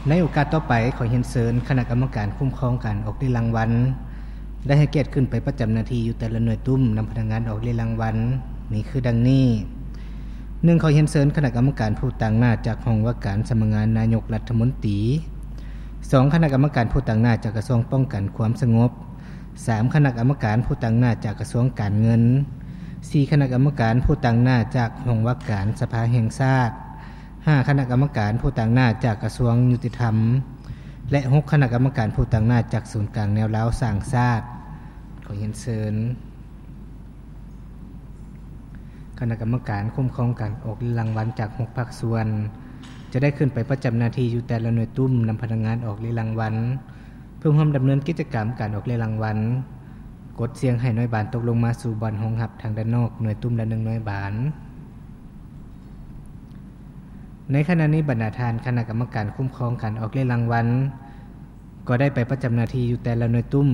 ໃນໂອກາດຕໍ່ໄປ, ຂໍຮຽນເຊີນຄະນະກຳມະການຄຸ້ມຄອງການອອກເລຍລາງວັນ ໄດ້ໃຫ້ກຽດຂຶ້ນໄປປະຈຳໜ້າທີ່ຢູ່ແຕ່ລະໜ່ວຍຕຸ້ມນຳພະນັກງານອອກເລຍລາງວັນ ມີຄືດັ່ງນີ້: ໜຶ່ງ ຂໍຮຽນເຊີນຄະນະກຳມະການຜູ້ຕາງໜ້າຈາກຫ້ອງວ່າການສຳນັກງານນາຍົກລັດຖະມົນຕີ, ສອງ ຄະນະກຳມະການຜູ້ຕາງໜ້າຈາກກະຊວງປ້ອງກັນຄວາມສະຫງົບ, ສາມ ຄະນະກຳມະການຜູ້ຕາງໜ້າຈາກກະຊວງການເງິນ, ສີ່ ຄະນະກຳມະການຜູ້ຕາງໜ້າຈາກຫ້ອງວ່າການສະພາແຫ່ງຊາດ, ຫ້າ ຄະນະກຳມະການຜູ້ຕາງໜ້າຈາກກະຊວງຍຸຕິທຳ ແລະ ຫົກ ຄະນະກຳມະການຜູ້ຕາງໜ້າຈາກສູນກາງແນວລາວສ້າງຊາດ. ຂໍຮຽນເຊີນຄະນະກຳມະການຄຸ້ມຄອງການອອກເລຍລາງວັນຈາກຫົກພາກສ່ວນ ຈະໄດ້ຂຶ້ນໄປປະຈຳໜ້າທີ່ຢູ່ແຕ່ລະໜ່ວຍຕຸ້ມນຳພະນັກງານອອກເລຍລາງວັນ ເພື່ອຮ່ວມດຳເນີນກິດຈະກຳການອອກເລຍລາງວັນ, ກົດສ່ຽງໃຫ້ໜ່ວຍບານຕົກລົງມາສູ່ບ່ອນຮອງຮັບທາງດ້ານນອກ ໜ່ວຍຕຸ້ມລະໜຶ່ງໜ່ວຍບານ. ໃນຂະນະນີ້, ບັນດາທ່ານຄະນະກຳມະການຄຸ້ມຄອງການອອກເລຍລາງວັນ ກໍໄດ້ໄປປະຈຳໜ້າທີ່ຢູ່ແຕ່ລະໜ່ວຍຕຸ້ມ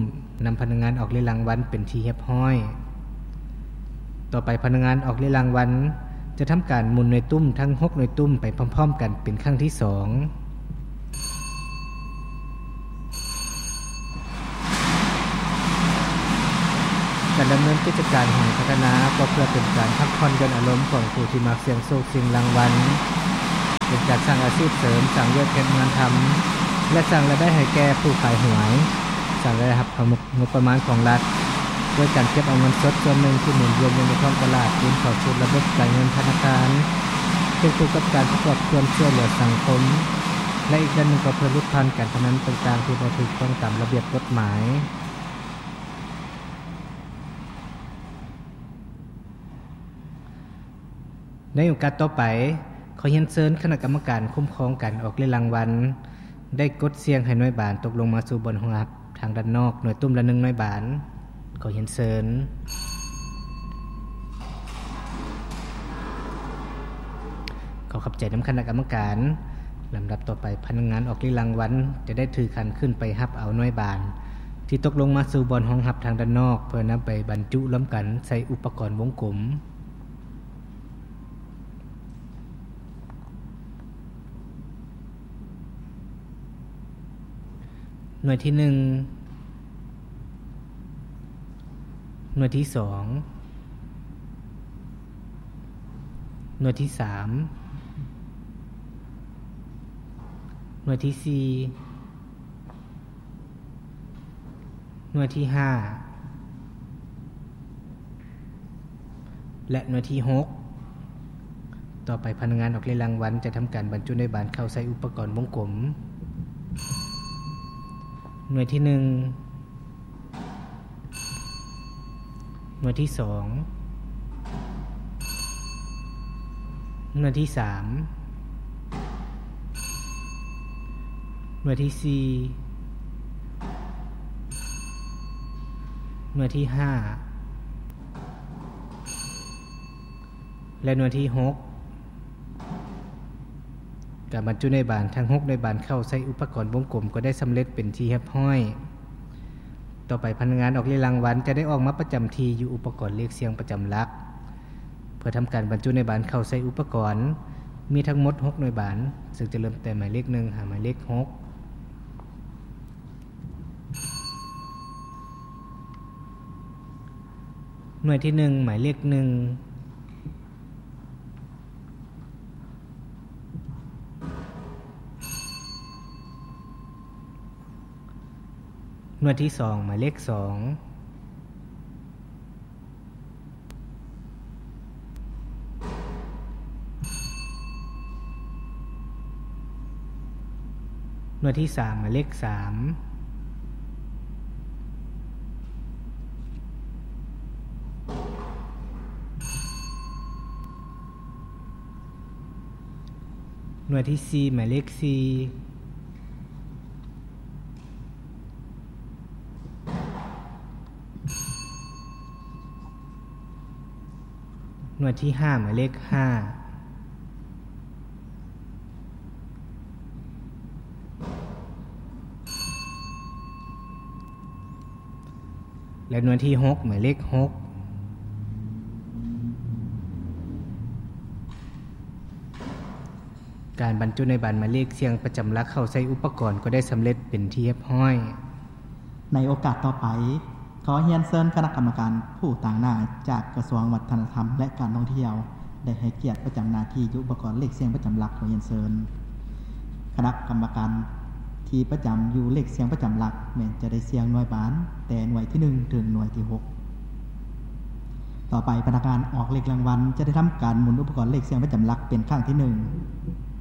ນຳພະນັກງານອອກເລຍລາງວັນເປັນທີ່ຮຽບຮ້ອຍ. ຕໍ່ໄປ, ພະນັກງານອອກເລຍລາງວັນຈະທຳການໝູນໜ່ວຍຕຸ້ມທັງຫົກໜ່ວຍຕຸ້ມໄປພ້ອມໆກັນເປັນຄັ້ງທີສອງ. ການດຳເນີນກິດຈະການຫອພັດທະນາ ກໍເພື່ອເປັນການພັກຜ່ອນຢ່ອນອາລົມຂອງຜູ້ທີ່ມັກສ່ຽງໂຊກສ່ຽງລາງວັນ, ເປັນການສ້າງອາຊີບເສີມ, ສ້າງວຽກເຮັດງານທຳ ແລະ ສ້າງລາຍໄດ້ໃຫ້ແກ່ຜູ້ຂາຍຫວຍ, ສ້າງລາຍຮັບເຂົ້າງົບປະມານຂອງລັດ ດ້ວຍການເກັບເອົາເງິນສົດສ່ວນໜຶ່ງທີ່ໝູນວຽນຢູ່ໃນທ້ອງຕະຫຼາດ ຄືນເຂົ້າສູ່ລະບົບການເງິນທະນາຄານ, ຄວບຄູ່ກັບການປະກອບສ່ວນຊ່ວຍເຫຼືອສັງຄົມ ແລະ ອີກດ້ານໜຶ່ງກໍເພື່ອຫຼຸດຜ່ອນການພະນັນຕ່າງໆທີ່ບໍ່ຖືກຕ້ອງຕາມລະບຽບກົດໝາຍ. ໃນໂອກາດຕໍ່ໄປ, ຂໍຮຽນເຊີນຄະນະກຳມະການຄຸ້ມຄອງການອອກເລຍລາງວັນ ໄດ້ກົດສ່ຽງໃຫ້ໜ່ວຍບານຕົກລົງມາສູ່ບ່ອນຮອງຮັບທາງດ້ານນອກ ໜ່ວຍຕຸ້ມລະໜຶ່ງໜ່ວຍບານ. ຂໍຮຽນເຊີນ. ຂໍຂອບໃຈນຳຄະນະກຳມະການ. ລຳດັບຕໍ່ໄປ, ພະນັກງານອອກເລຍລາງວັນຈະໄດ້ຖືຂັນຂຶ້ນໄປຮັບເອົາໜ່ວຍບານທີ່ຕົກລົງມາສູ່ບ່ອນຮອງຮັບທາງດ້ານນອກ ເພື່ອນຳໄປບັນຈຸລວມກັນໃສ່ອຸປະກອນວົງກົມ. ໜ່ວຍທີໜຶ່ງ, ໜ່ວຍທີສອງ, ໜ່ວຍທີສາມ, ໜ່ວຍທີສີ່, ໜ່ວຍທີຫ້າ ແລະ ໜ່ວຍທີຫົກ. ຕໍ່ໄປ, ພະນັກງານອອກເລຍລາງວັນຈະທຳການບັນຈຸໜ່ວຍບານເຂົ້າໃສ່ອຸປະກອນວົງກົມ. ໜ່ວຍທີໜຶ່ງ, ໜ່ວຍທີສອງ, ໜ່ວຍທີສາມ, ໜ່ວຍທີສີ່, ໜ່ວຍທີຫ້າ ແລະ ໜ່ວຍທີຫົກ. ການບັນຈຸໜ່ວຍບານທັງຫົກໜ່ວຍບານເຂົ້າໃສ່ອຸປະກອນວົງກົມກໍໄດ້ສຳເລັດເປັນທີ່ຮຽບຮ້ອຍ. ຕໍ່ໄປ, ພະນັກງານອອກເລຍລາງວັນຈະໄດ້ອອກມາປະຈຳທີ່ຢູ່ອຸປະກອນເລກສ່ຽງປະຈຳຫຼັກ ເພື່ອທຳການບັນຈຸໜ່ວຍບານເຂົ້າໃສ່ອຸປະກອນ. ມີທັງໝົດຫົກໜ່ວຍບານ, ເຊິ່ງຈະເລີ່ມແຕ່ໝາຍເລກໜຶ່ງຫາໝາຍເລກຫົກ. ໜ່ວຍທີໜຶ່ງ ໝາຍເລກໜຶ່ງ, ໜ່ວຍທີສອງ ໝາຍເລກສອງ, ໜ່ວຍທີສາມ ໝາຍເລກສາມ, ໜ່ວຍທີສີ່ ໝາຍເລກສີ່, ໜ່ວຍທີຫ້າ ໝາຍເລກຫ້າ ແລະ ໜ່ວຍທີຫົກ ໝາຍເລກຫົກ. ການບັນຈຸໜ່ວຍບານໝາຍເລກສຽງປະຈຳຫຼັກເຂົ້າໃສ່ອຸປະກອນກໍໄດ້ສຳເລັດເປັນທີ່ຮຽບຮ້ອຍ. ໃນໂອກາດຕໍ່ໄປ, ຂໍຮຽນເຊີນຄະນະກຳມະການຜູ້ຕາງໜ້າຈາກກະຊວງວັດທະນະທຳ ແລະ ການທ່ອງທ່ຽວ ໄດ້ໃຫ້ກຽດປະຈຳໜ້າທີ່ຢູ່ອຸປະກອນເລກສຽງປະຈຳຫຼັກ. ຂໍຮຽນເຊີນ. ຄະນະກຳມະການທີ່ປະຈຳຢູ່ເລກສຽງປະຈຳຫຼັກ ແມ່ນຈະໄດ້ສຽງໜ່ວຍບານແຕ່ໜ່ວຍທີໜຶ່ງເຖິງໜ່ວຍທີຫົກ. ຕໍ່ໄປ, ພະນັກງານອອກເລກລາງວັນຈະໄດ້ທຳການໝູນອຸປະກອນເລກສຽງປະຈຳຫຼັກເປັນຄັ້ງທີໜຶ່ງ.